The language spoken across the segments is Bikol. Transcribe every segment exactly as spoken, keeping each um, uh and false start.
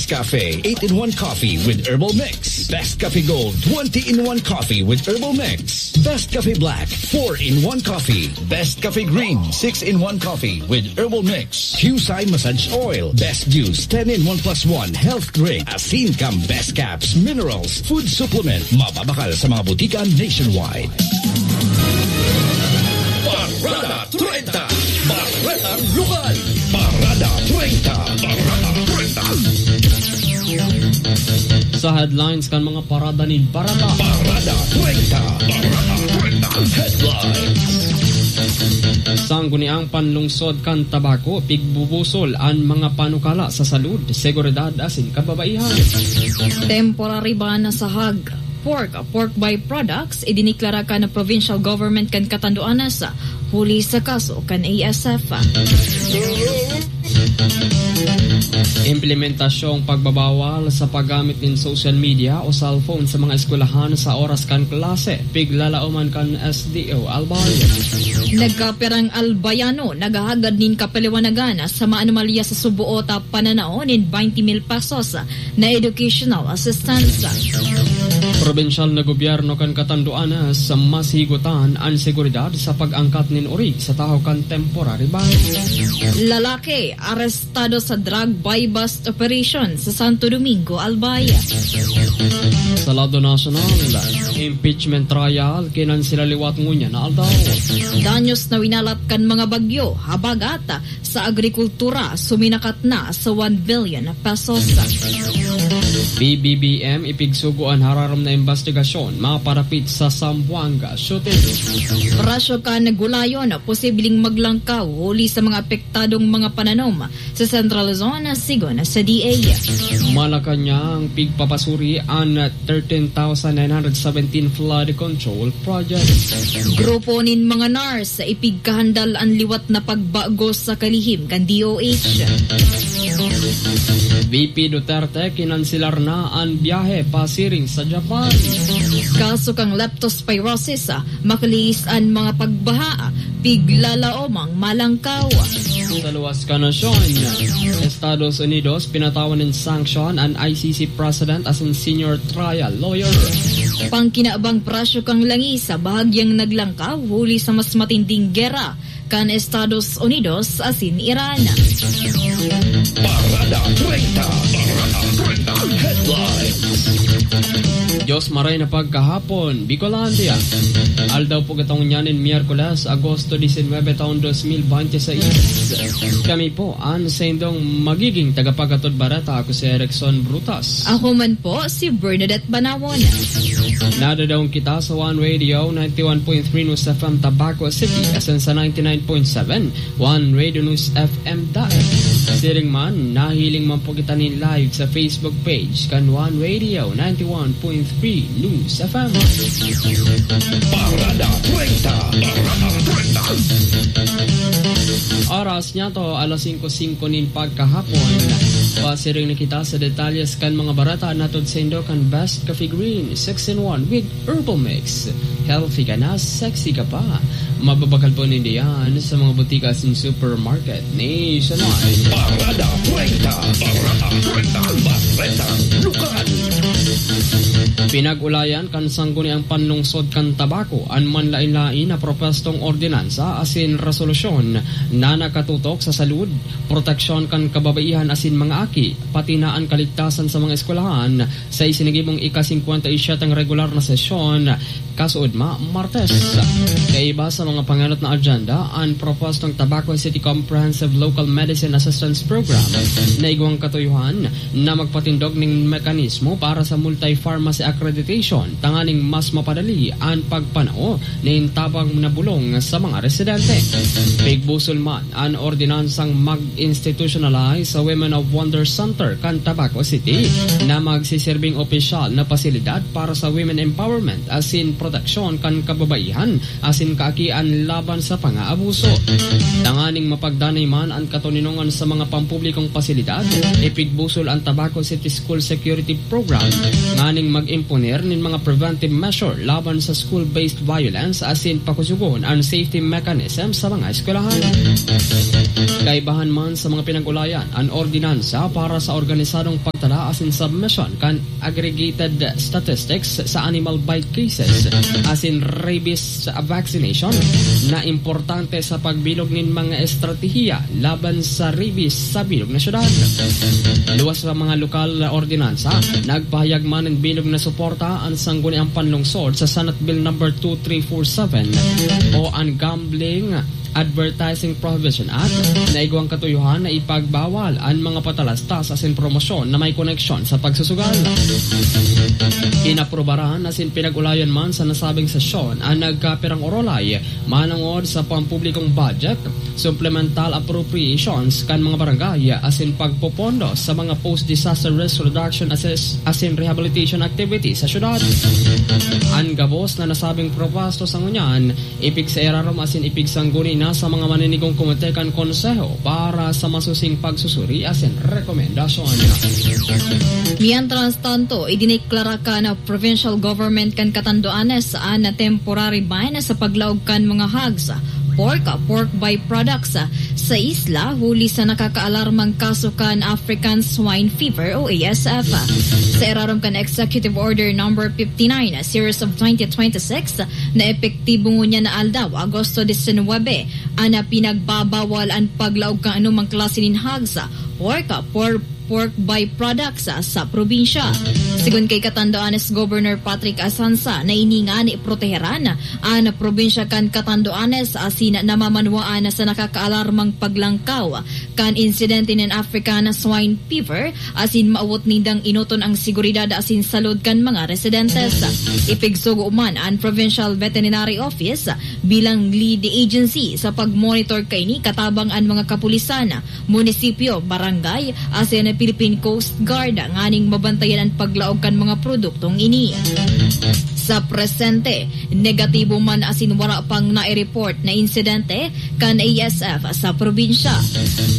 Cafe eight-in-one Coffee with Herbal Mix. Best Cafe Gold twenty-in-one Coffee with Herbal Mix. Best Cafe Black four-in-one Coffee. Best Cafe Green six-in-one Coffee with Herbal Mix. Qcye Massage Oil. Best Juice ten-in-one plus one Health Drink. Asin Cam Best Caps Minerals Food Supplement. Mababakal sa mga butika nationwide. Parada treinta. Baretang Lokal. Parada treinta. Parada treinta. Sa headlines kan mga parada nin bareta. Parada treinta. Parada treinta. Headlines. Sangguniang panlungsod kan Tabaco, pigbubusol an mga panukala sa salud, seguridad asin kababaihan. Temporary ban sa hog, pork, pork byproducts, idiniklara kan provincial government kan Catanduanes, huli sa kaso kan A S F. Implementasyong pagbabawal sa paggamit nin social media o cellphone sa mga eskwelahan sa oras kan klase, piglalaoman kan S D O Albay. Nagkapirang Albayano naghahagad nin kapaliwanagan sa maanomalya sa suboot a pananao nin twenty mil pesos na educational assistance. Probinsyal na gobyerno kan Catanduanes mas higutan an seguridad sa pag-angkat nin ori sa tahaw kan temporary ban. Lalaki arestado sa drug buy-bust operation sa Santo Domingo, Albay. Sa lado nasyonal, impeachment trial, kinansela liwat ngunyan na aldaw. Danyos na winalat kan mga bagyo, habagat sa agrikultura, suminakat na sa one billion pesos. B B B M, ipigsugo an hararom na imbestigasyon maparapit sa Zamboanga shooting. Presyo kan gulayon posibleng maglangkaw huli sa mga apektadong mga pananom sa Central Luzon, sigon sa D A. Malacañang, pigpapasuri an thirteen thousand nine hundred seventeen flood control project. Grupo nin mga nurse ipigkahandal an liwat na pagbago sa kalihim kan D O H. V P Duterte kinanselar na an biyahe pasiring sa Japan. Kaso kan leptospirosis, ah, makalihis an mga pagbaha, ah, piglalaom ang malangkaw. Sa luwas kan nasyon, Estados Unidos pinatawan nin sanction an I C C president asin senior trial lawyer. Pangkinabang presyo kan langis sa bahagyang naglangkaw huli sa mas matinding gera kan Estados Unidos asin Iran. Parada treinta. Parada treinta. Headlines. Diyos maray na pagkahapon, Bicolandia. Aldaw po katong nyanin, Miyerkules, Agosto diecinuebe, taon dos mil veintiseis. Kami po an saindong magiging tagapaghatod bareta. Ako si Erickson Brutas. Ako man po, si Bernadette Banawon. Nadadaong kita sa One Radio, ninety-one point three News F M Tabaco City, asin sa ninety-nine point seven One Radio News F M Daet. Siring man, nahiling man po kita nin live sa Facebook page kan One Radio, ninety-one point three News F M. Parada treinta. Parada treinta. Oras niya to, alas singko singko nin pagkahapon. Pasiring na kita sa detalyes kan mga bareta na hatod saindo kan Best Coffee Green, six-in-one with Herbal Mix. Healthy ka na, sexy ka pa. Mababakal po nindo yan sa mga butika asin supermarket nationwide. Parada treinta. Parada treinta. Bareta Lokal. Pinag-ulayan kan Sangguniang Panlungsod kan Tabaco an manlaen-laen na propwestong ordinansa asin resolusyon na nakatutok sa salud, proteksyon kan kababaihan asin mga aki, pati na an kaligtasan sa mga eskwelahan sa isinagibong ika-singkwenta y siyete regular na sesyon, kasuodma, Martes. Kaiba sa mga pangenot na agenda, an propwestong Tabaco City Comprehensive Local Medicine Assistance Program na igwang katuyohan na magpatindog nin mekanismo para sa multi-pharmacy accreditation tanganing mas mapadali an pagpanao nin tabang na bulong sa mga residente. Pigbusol man an ordinansang mag-institutionalize sa Women of Wonder Center kan Tabaco City na magsiserbing opisyal na pasilidad para sa women empowerment asin proteksyon kan kababaihan asin kaakian laban sa pangaabuso. Tanganing mapagdanay man an katoninongan sa mga pampublikong pasilidad, ipigbusol an Tabaco City School Security Program nganing mag-imponer nin mga preventive measure laban sa school-based violence asin pakusugon an safety mechanism sa mga eskwelahan. Kaibahan man sa mga pinag-ulayan, an ordinansa para sa organisadong pagtala asin submission kan aggregated statistics sa animal bite cases asin rabies vaccination na importante sa pagbilog nin mga estratehiya laban sa rabies sa bilog na syudad. Luwas sa mga lokal na ordinansa, nagpahayag man nin bilog na suporta an Sangguniang Panlungsod sa Senate Bill number two three four seven o an Gambling Advertising Prohibition Act na igwang katuyohan na ipagbawal an mga patalastas asin promosyon na may koneksyon sa pagsusugal. Inaprubaran asin pinag-ulayan man sa nasabing sesyon an nagkapirang orolay manongod sa pampublikong budget, supplemental appropriations kan mga barangay asin pagpopondo sa mga post-disaster risk reduction assess asin rehabilitation activities sa syudad. An gabos na nasabing propasto sa ngunyan, ipigsairarom asin ipigsangguni na sa mga maninigong komite kan Konseho para sa masusing pagsusuri asin rekomendasyon. Mientras tanto, idineklara kan provincial government kan Catanduanes an temporary ban sa paglaog kan mga hogs, pork, pork byproducts sa isla huli sa nakakaalarmang kaso kan African Swine Fever o A S F. Sa irarom kan Executive Order number fifty-nine, series of twenty twenty-six, na epektibo ngunyan na aldaw, Agosto diecinuebe, an pinagbabawal an paglaog kan anumang klase nin hogs, pork, por-, pork byproducts sa probinsya. Sigon kay Catanduanes Governor Patrick Asansa, na ini ngani proteheran an probinsya kan Catanduanes asin namamanwaan sa nakakaalarmang paglangkaw kan insidente nin African Swine Fever asin maawot nindang enoton ang seguridad asin salud kan mga residentes. Ipigsugo man an Provincial Veterinary Office bilang lead agency sa pagmonitor kaini katabang an mga kapulisan, munisipyo, barangay, asin Philippine Coast Guard nganing mabantayan an paglaog kan mga produktong ini. Sa presente, negatibo man asin wara pang nai-report na insidente kan A S F sa probinsya.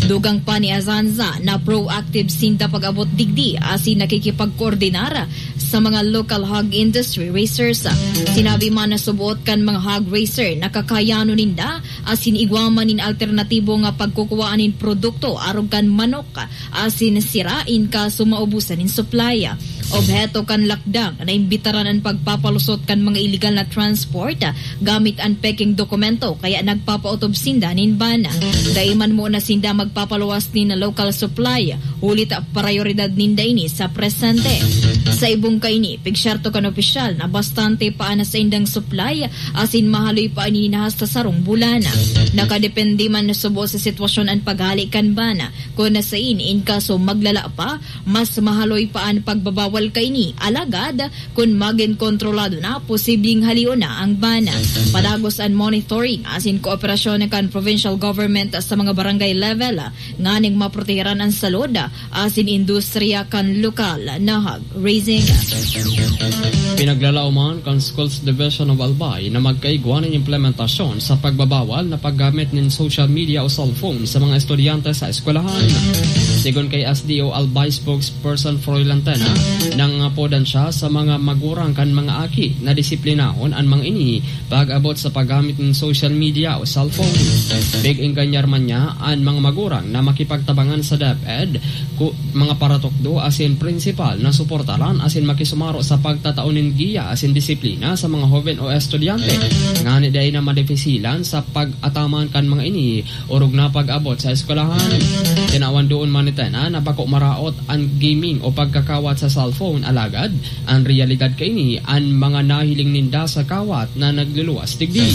Dugang pa ni Asansa na proactive sinda pag-abot digdi asin nakikipagkoordinar sa mga local hog industry raisers. Sinabi man na suboot kan mga hog raiser na kakayanon ninda asin igwa man nin alternatibo nga pagkukuwaan nin produkto arog kan manok asin sira in kaso maubusan nin supply. Obheto kan lakdang na imbitaran an pagpapalusot kan mga iligal na transport gamit an peking dokumento, kaya nagpapaotob sinda nin ban. Dai man muna sinda magpapaluwas nin local supply, huli ta prayoridad ninda ini sa presente. Sa ibong kaini, pigsyerto kan opisyal na bastante pa an saindang supply asin mahaloy pa ini na hasta sarong bulan. Nakadepende man na subo sa sitwasyon an paghali kan ban. Kun nasain, in kaso maglala pa, mas mahaloy pa an pagbabawal kaini. Alagad, kun magin kontrolado na, posibleng halion na ang ban. Padagos an monitoring asin kooperasyon kan provincial government sa mga barangay level nganing maproteheran an salud asin industriya kan lokal na hog raising. Pinaglalaoman kan Schools Division of Albay na magkaigwa nin implementasyon sa pagbabawal na paggamit nin social media o cellphone sa mga estudyante sa eskwelahan. Sigon kay S D O Albay spokesperson Froy Lantena, nangapodan siya sa mga magurang kan mga aki na disiplinahon an mga ini pag-abot sa paggamit nin social media o cellphone. Pig-engganyar man niya an mga magurang na makipagtabangan sa DepEd, ku-, mga paratukdo asin prinsipal na suportaran asin makisumaro sa pagtatao nin giya asin disiplina sa mga hoben o estudyante, ngani dai na madefisilan sa pag-ataman kan mga ini orog na pag-abot sa eskwelahan. Tinawan doon man ni Tena na bako maraot an gaming o pagkakawat sa cellphone, alagad an reyalidad kaini an mga nahiling ninda sa kawat na nagluluwas digdi.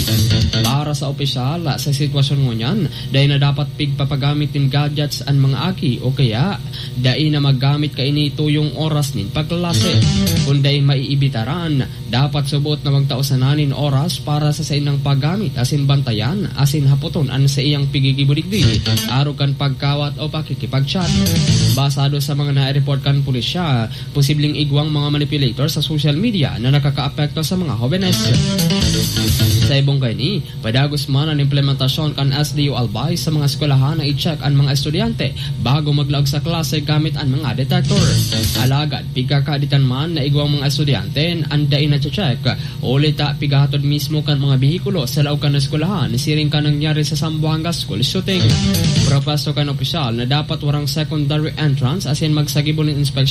Para sa opisyal, sa sitwasyon ngunyan, dai na dapat pigpapagamit nin gadgets an mga aki o kaya dai na maggamit kaini tuyong oras nin pagklase. Kun dai maiibitaran, dapat subot na magtao sana nin oras para sa saindang paggamit asin bantayan asin hapoton an saiyang pigigibo digdi, arog kan pagkawat o pakikipag-chat. Basado sa mga na-report kan pulisya, posibleng igwang mga manipulator sa social media na nakakaapekto sa mga hobenes. Sa ibong kaini, padagos man an implementasyon kan S D U Albay sa mga eskwelahan na i-check an mga estudyante bago maglaog sa klase gamit an mga detector. Alagad, pigkakaditan man na igwang mga estudyante an dai na-check, huli ta pigahatod mismo kan mga behikulo sa laog kan eskwelahan, siring kan nangyari sa Zamboanga School Shooting. Propuesto kan opisyal na dapat warang secondary entrance asin magsagibo nin inspeksyon